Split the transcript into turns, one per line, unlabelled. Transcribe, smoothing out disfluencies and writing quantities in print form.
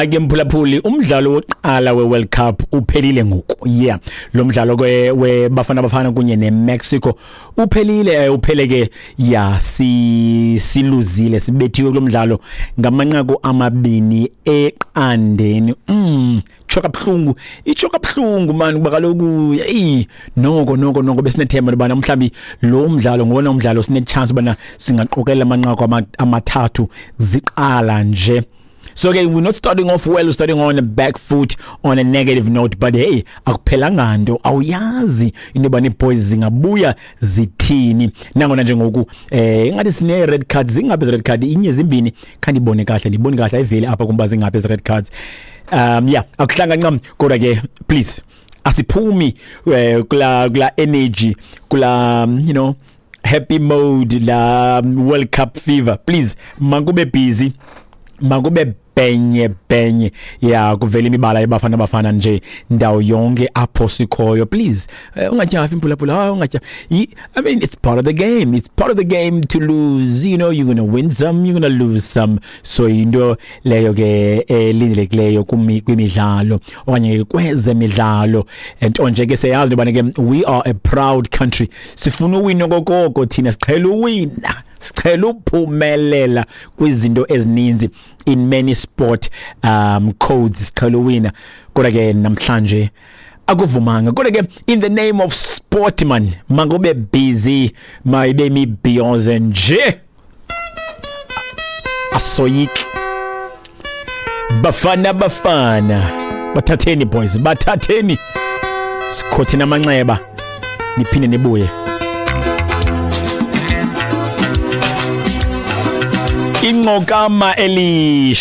Hayi ke mphulaphuli, umdlalo wokuqala we-World Cup uphelile ngoku. Yeah, lo mdlalo ke weBafana Bafana kunye neMexico uphelile, uphele ke ya si siluzile, sibethiwe kulo mdlalo ngamanqaku 2-0. Tsho kabuhlungu, itsho kabuhlungu man, kuba kaloku hey, noko noko noko besinethemba lobana mhlawumbi lo mdlalo ngowona umdlalo sine chance ubana singaqokelela amanqaku amathathu ziqala nje. So okay, we're not starting off well, we're starting on a back foot, on a negative note, but hey, akuphelanga nto, awuyazi into yoba nee-boys zingabuya zithini. Nangona njengoku ingathi sine red cards, zingaphi red card, inye zimbini, khandibone kahle, ndibone kahle ayiveli apha kumba zingaphi ezi red cards. Yeah, akuhlanga ncam, kodwa ke please asiphumi kula energy, kula you know happy mode, la World Cup fever. Please makube busy, makube benye benye, ya kuvela imibala yeBafana Bafana nje ndawo yonke apho sikhoyo. Please ungatyhafi mphulaphula, ungatyhafi. I mean, it's part of the game, it's part of the game to lose, you know, you're gonna win some, you're gonna lose some. So into leyo ke elindelekileyo kwimidlalo okanye ke kwezemidlalo. Nto nje ke siyazi into yobana ke we are a proud country, sifuna uwina okokoko thina, siqhela uwina, siqhela uphumelela kwizinto ezininzi, in many sport codes siqhela uwina, kodwa ke namhlanje akuvumanga. Kodwa ke in the name of sport man, makube busy, mayibe mibhiyoze nje, asoyiki. Bafana Bafana, bathatheni boys, bathatheni, sikhotheni amanxeba, niphinde nibuye. Inqokama elish